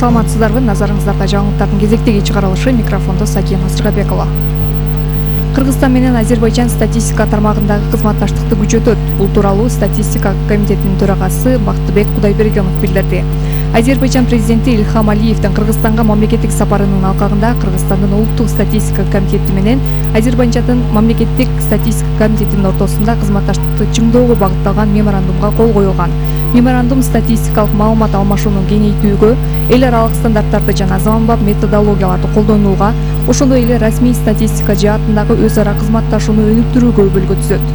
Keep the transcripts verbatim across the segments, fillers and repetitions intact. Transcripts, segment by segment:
Саламатсыздарбы, назарыңыздарда жаңылыктардын кезектеги чыгарылышы, микрофондо Сакия Насырбекова. Кыргызстан менен Азербайжан статистика тармагындагы кызматташтыкты күчөтөт. Бул тууралуу статистика комитетинин төрагасы Бактыбек Кудайбергенов билдирди. Азербайжан президенти Ильхам Алиевдин Кыргызстанга мамлекеттик сапарынын алкагында Кыргызстандын улуттук статистика комитети менен Азербайжандын мамлекеттик статистика комитетинин ортосунда кызматташтыкты чыңдоого багытталган меморандумга кол коюлган. Меморандум статистикалык маалымат алмашууну кеңейтүүгө, эл аралык стандарттарды жана заманбап методологияларды колдонууга, ошондой эле расмий статистика жаатындагы өз ара кызматташууну өнүктүрүүгө өбөлгө түзөт.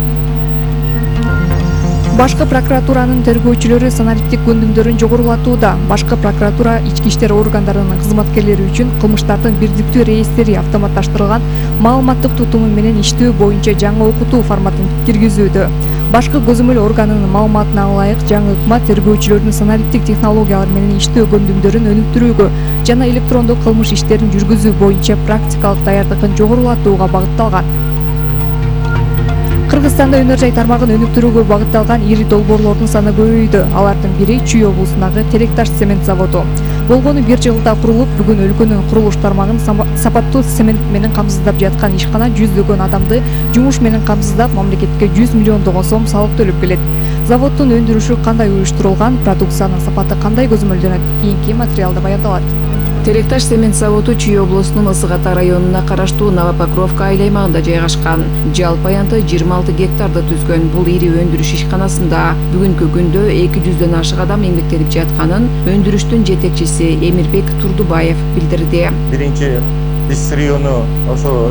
Башкы прокуратуранын тергөөчүлөрү санариптик көндүмдөрүн жогорулатууда. Башкы прокуратура ички иштер органдарынын кызматкерлери үчүн кылмыштардын бирдиктүү реестри автоматташтырылган маалыматтык тутуму менен иштөө боюнча жаңы окутуу форматын киргизүүдө. Башкы көзөмөл органынын маалыматына ылайык жаңы ыкма тергөөчүлөрдүн санариптик технологиялар менен иштөө көндүмдөрүн өнүктүрүүгө жана электрондук кылмыш иштерин жүргүзүү боюнча практикалык даярдыгын жогорулатууга багытталган. Кыргызстанда өнөр жай тармагын өнүктүрүүгө багытталган ири долбоорлордун саны көбөйдү. Алардын бири Чүй облусундагы Теректаш цемент заводу. Болгону бир жылда курулуп, бүгүн өлкөнүн курулуш тармагын сапаттуу цемент менен камсыздап жаткан ишкана жүздөгөн адамды жумуш менен камсыздап, мамлекетке жүз миллиондогон сом салык төлөп келет. Заводдун өндүрүшү кандай уюштурулган, продукциянын сапаты кандай көзөмөлдөнөт? Кийинки материалда баяндалат. Теректаш цемент заводу Чүй облусунун Ысык Ата районуна караштуу Новопокровка айыл аймагында жайгашкан. Жалпы аянты жыйырма алты гектарды түзгөн бул ири өндүрүш ишканасында бүгүнкү күндө эки жүздөн ашык адам эмгектенип жатканын өндүрүштүн жетекчиси Эмирбек Турдубаев билдирди. Биринчи биз району ошо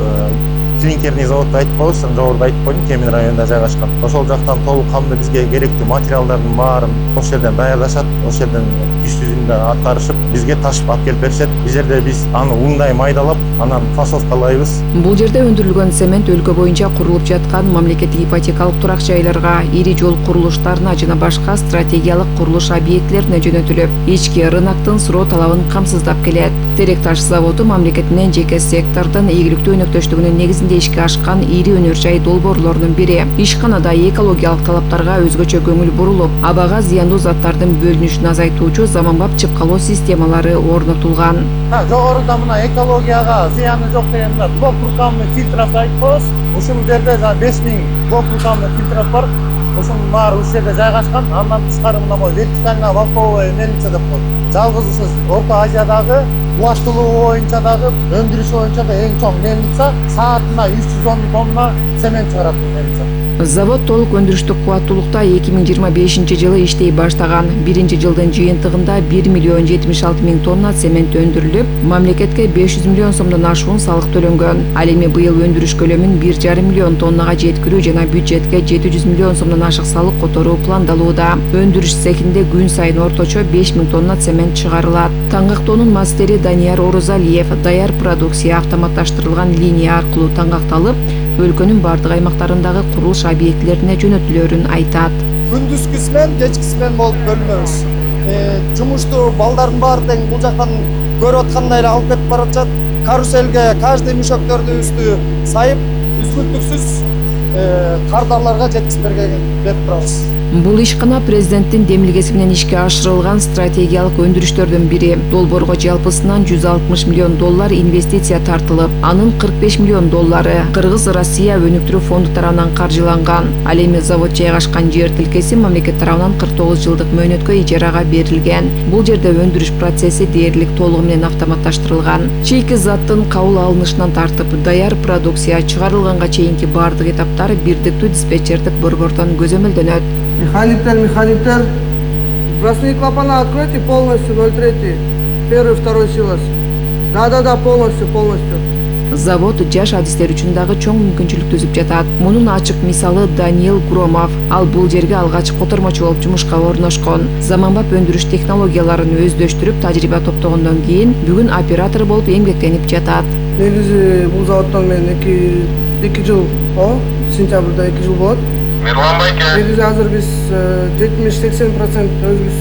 клинкерный заводду айтып коебуз, жогоруда айтып койдум, Кемин районунда жайгашкан. Ошол жактан толук камды бизге керектүү материалдардын баарын ошол жерден даярдашат, ошол жерден иш жүзүндө аткарышып, бизге ташып алып келип беришет. Бул жерде биз аны ундай майдалап, анан фасовкалайбыз. Бул жерде өндүрүлгөн цемент өлкө боюнча курулуп жаткан мамлекеттик ипотекалык турак жайларга, ири жол курулуштарына жана башка стратегиялык курулуш объектилерине жөнөтүлүп, ички рыноктун суроо талабын камсыздап келет. Теректаш заводу мамлекет менен жеке сектордун ийгиликтүү өнөктөштүгүнүн негизинде ишке ашкан ири өнөр жай долбоорлорунун бири. Ишканада экологиялык талаптарга өзгөчө көңүл бурулуп, абага зыяндуу заттардын бөлүнүшүн азайтуучу заманбап чыпкалоо системалары орнотулган. Жогоруда мына экологияга зыяны жок деген блок рукавный фильтров айтып коебуз. Ушул жерде беш миң блок рукавный фильтров бар. Ошонун баары ушул жерде жайгашкан. Андан тышкары мына могу вертикальная валковая мельница деп коет. Жалгыз ушул Орто Азиядагы кубаттуулугу боюнча дагы, өндүрүш боюнча да эң чоң мельница, саатына үч жүз он тонна цемент чыгарат бул мельница. Завод толук өндүрүштүк кубаттуулукта эки миң жыйырма бешинчи жылы иштей баштаган. Биринчи жылдын жыйынтыгында бир миллион жетимиш алты миң тонна цемент өндүрүлүп, мамлекетке беш жүз миллион сомдон ашуун салык төлөнгөн. Ал эми быйыл өндүрүш көлөмүн бир жарым миллион тоннага жеткирүү жана бюджетке жети жүз миллион сомдон ашык салык которуу пландалууда. Өндүрүш цехинде күн сайын орточо беш миң тонна цемент чыгарылат. Таңгактоонун мастери Данияр Орозалиев даяр продукция автоматташтырылган линия аркылуу таңгакталып, өлкөнүн бардык аймактарындагы курулуш объектилерине жөнөтүлөрүн айтат. Күндүзгү смен, кечки смен болуп бөлүнөбүз. Жумушту балдардын баары тең бул жактан көрүп аткандай эле алып кетип баратат. Каруселге каждый мешоктордубузду сайып, үзгүлтүксүз кардарларга жеткизип берип турабыз. Бул ишкана президенттин демилгеси менен ишке ашырылган стратегиялык өндүрүштөрдүн бири. Долбоорго жалпысынан жүз алтымыш миллион доллар инвестиция тартылып, анын кырк беш миллион доллары Кыргыз-Россия өнүктүрүү фонду тарабынан каржыланган. Ал эми завод жайгашкан жер тилкеси мамлекет тарабынан кырк тогуз жылдык мөөнөткө ижарага берилген. Бул жерде өндүрүш процесси дээрлик толугу менен автоматташтырылган. Чийки заттын кабыл алынышынан тартып, даяр продукция чыгарылганга чейинки бардык этаптар бирдиктүү диспетчердик борбордон көзөмөлдөнөт. Механиктер, механиктер, бросные клапана откройте полностью, ноль три, первый, второй силос. Да-да-да, полностью, полностью. Завод жаш адистер үчүн дагы чоң мүмкүнчүлүк түзүп жатат. Мунун ачык мисалы Даниил Громов. Ал бул жерге алгач котормочу болуп жумушка орношкон. Заманбап өндүрүш технологияларын өздөштүрүп, тажрыйба топтогондон кийин бүгүн оператор болуп эмгектенип жатат. Негизи бул заводдон мен эки жыл, сентябрда эки жыл болот. Мирлан байке. Негизи азыр биз жетимиш сексен процент өзүбүз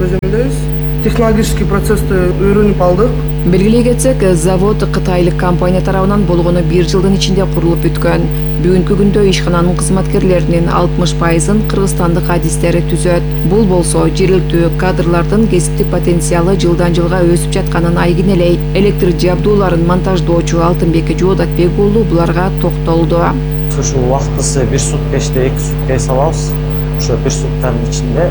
көзөмөлдөйбүз. технологический процессти үйрөнүп алдык. Белгилей кетсек, завод кытайлык компания тарабынан болгону бир жылдын ичинде курулуп бүткөн. Бүгүнкү күндө ишкананын кызматкерлеринин алтымыш пайызын кыргызстандык адистер түзөт. Бул болсо жергиликтүү кадрлардын кесиптик потенциалы жылдан жылга өсүп жатканын айгинелейт. Электр жабдууларын монтаждоочу Алтынбек Жоодатбек уулу буларга токтолду. Ушу убактысы бир сутка иште эки сутка эс алабыз. Ошо бир сутканын ичинде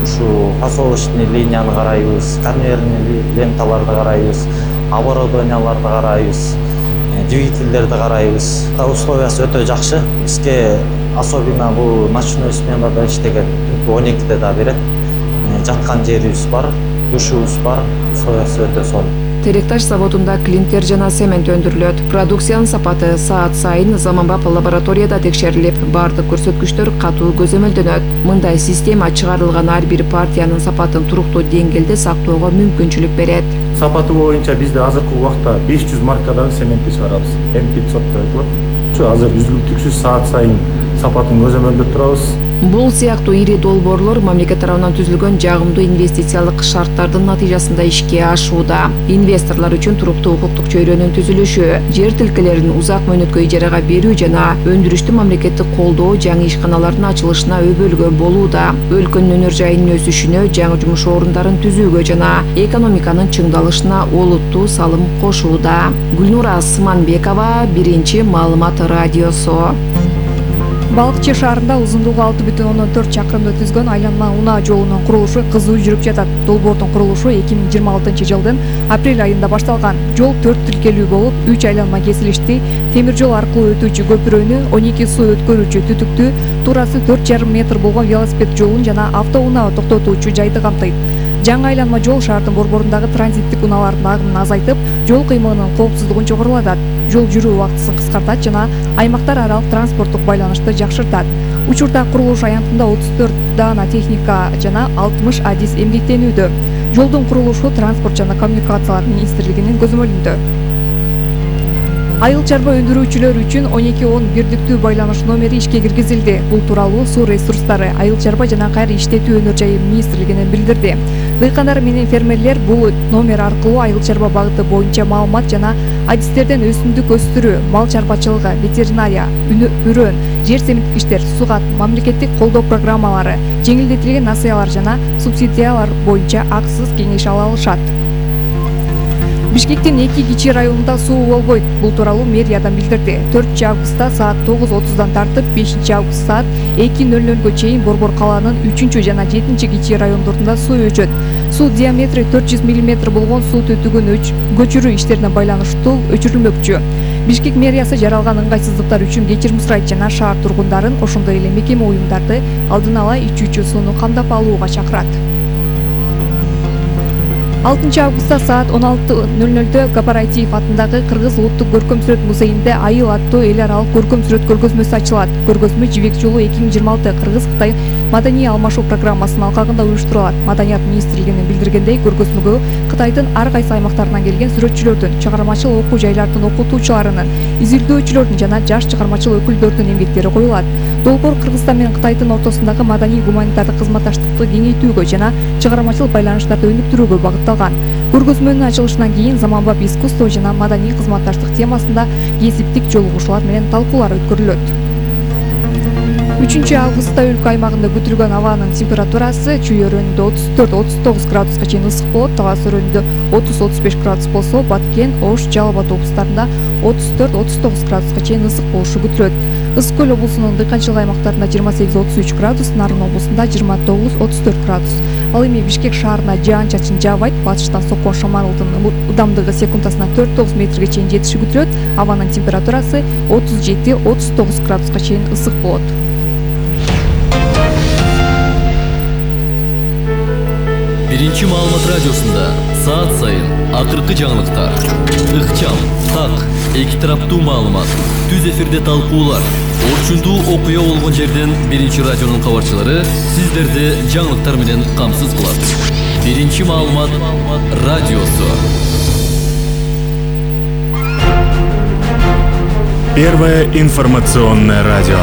ушу фасовочный линияны карайбыз, конвейерный ленталарды карайбыз, оборудованияларды карайбыз, двигательдерди карайбыз. Условиясы өтө жакшы. Бизге особенно бул ночной сменада иштеген он экиде да берет. Жаткан жерибиз бар, душубуз бар. Условиясы өтө сонун. Теректаш заводунда клинкер жана цемент өндүрүлөт. Продукциянын сапаты саат сайын заманбап лабораторияда текшерилип, бардык көрсөткүчтөр катуу көзөмөлдөнөт. Мындай система чыгарылган ар бир партиянын сапатын туруктуу деңгээлде сактоого мүмкүнчүлүк берет. Сапаты боюнча бизде азыркы убакта беш жүз маркадагы цементти чыгарабыз. эм пятьсот деп айтылат. Ушу азыр үзгүлтүксүз саат сайын сапатын көзөмөлдөп турабыз. Бул сыяктуу ири долбоорлор мамлекет тарабынан түзүлгөн жагымдуу инвестициялык шарттардын натыйжасында ишке ашууда. Инвесторлор үчүн туруктуу укуктук чөйрөнүн түзүлүшү, жер тилкелерин узак мөөнөткө ижарага берүү жана өндүрүштү мамлекеттик колдоо жаңы ишканалардын ачылышына өбөлгө болууда. Өлкөнүн өнөр жайынын өсүшүнө, жаңы жумуш орундарын түзүүгө жана экономиканын чыңдалышына олуттуу салым кошууда. Гүлнура Сыманбекова, Биринчи маалымат радиосу. Балыкчы шаарында узундугу алты бүтүн ондон төрт чакырымды түзгөн айланма унаа жолунун курулушу кызуу жүрүп жатат. Долбоордун курулушу эки миң жыйырма алтынчы жылдын апрель айында башталган. Жол төрт тилкелүү болуп, үч айланма кесилишти, темир жол аркылуу өтүүчү көпүрөнү, он эки суу өткөрүүчү түтүктү, туурасы төрт жарым метр болгон велосипед жолун жана автоунаа токтотуучу жайды камтыйт. Жаңы айланма жол шаардын борборундагы транзиттик унаалардын агымын азайтып, жол кыймылынын коопсуздугун жогорулатат. Жол жүрүү убактысын кыскартат жана аймактар аралык транспорттук байланышты жакшыртат. Учурда курулуш аянтында отуз төрт даана техника жана алтымыш адис эмгектенүүдө. Жолдун курулушу Транспорт жана коммуникациялар министрлигинин көзөмөлүндө. Айыл чарба өндүрүүчүлөр үчүн он эки он бирдиктүү байланыш номери ишке киргизилди. Бул тууралуу Суу ресурстары, айыл чарба жана кайра иштетүү өнөр жайы министрлигинен билдирди. Дыйкандар менен фермерлер бул номер аркылуу айыл чарба багыты боюнча маалымат жана адистерден өсүмдүк өстүрүү, мал чарбачылыгы, ветеринария, үрөн, жер семирткичтер, сугат, мамлекеттик колдоо программалары, жеңилдетилген насыялар жана субсидиялар боюнча акысыз кеңеш ала алышат. Бишкектин эки кичи районунда суу болбойт. Бул тууралуу мэриядан билдирди. төртүнчү августта саат тогуз отуздан тартып бешинчи август саат эки нөл нөлгө чейин Борбор калаанын үчүнчү жана жетинчи кичи райондорунда суу өчөт. Суу диаметри төрт жүз миллиметр болгон суу түтүгүн көчүрүү иштерине байланыштуу өчүрүлмөкчү. Бишкек мэриясы жаралган ыңгайсыздыктар үчүн кечирим сурайт жана шаар тургундарын, ошондой эле мекеме уюмдарды алдын ала ичүүчү сууну камдап алууга чакырат. алтынчы августта саат он алты нөл нөлдө Кооператив атындагы Кыргыз улуттук көркөм сүрөт музейинде Айыл аттуу эл аралык көркөм сүрөт көргөзмөсү ачылат. Көргөзмө Жибек жолу эки миң жыйырма алты Кыргыз-Кытай маданий алмашуу программасынын алкагында уюштурулат. Маданият министрлигинин билдиргендей, көргөзмөгө Кытайдын ар кайсы аймактарынан келген сүрөтчүлөрдүн, чыгармачыл окуу жайлардын окутуучуларынын, изилдөөчүлөрдүн жана жаш чыгармачыл өкүлдөрдүн эмгектери коюлат. Долбоор Кыргызстан менен Кытайдын ортосундагы маданий гуманитардык кызматташтыкты кеңейтүүгө жана чыгармачыл байланыштарды өнүктүрүүгө багытталган. Көргөзмөнүн ачылышынан кийин заманбап искусство жана маданий кызматташтык темасында кесиптик жолугушуулар менен талкуулар өткөрүлөт. үчүнчү августта өлкө аймагында күтүлгөн абанын температурасы чүй өрөөнүндө отуз төрт отуз тогуз градуска чейин ысык болот, талас өрөөнүндө отуз отуз беш градус болсо, Баткен, Ош, Жалал Абад облустарында отуз төрт отуз тогуз градуска чейин ысык болушу күтүлөт. Ысык көл облусунун дыйканчылык аймактарында жыйырма сегиз отуз үч градус, Нарын облусунда жыйырма тогуз отуз төрт градус. Ал эми Бишкек шаарына жаан-чачын жаабайт, батыштан соккон шамалдын ылдамдыгы секундасына төрт тогуз метрге чейин жетиши күтүлөт. Абанын температурасы отуз жети отуз тогуз градуска чейин ысык болот. Биринчи маалымат радиосунда саат сайын акыркы жаңылыктар, ыкчам, так, эки тараптуу маалымат, түз эфирде талкуулар, орчундуу окуя болгон жерден Биринчи радионун кабарчылары сиздерди жаңылыктар менен камсыз кылат. Биринчи маалымат радиосу. Первое информационное радио.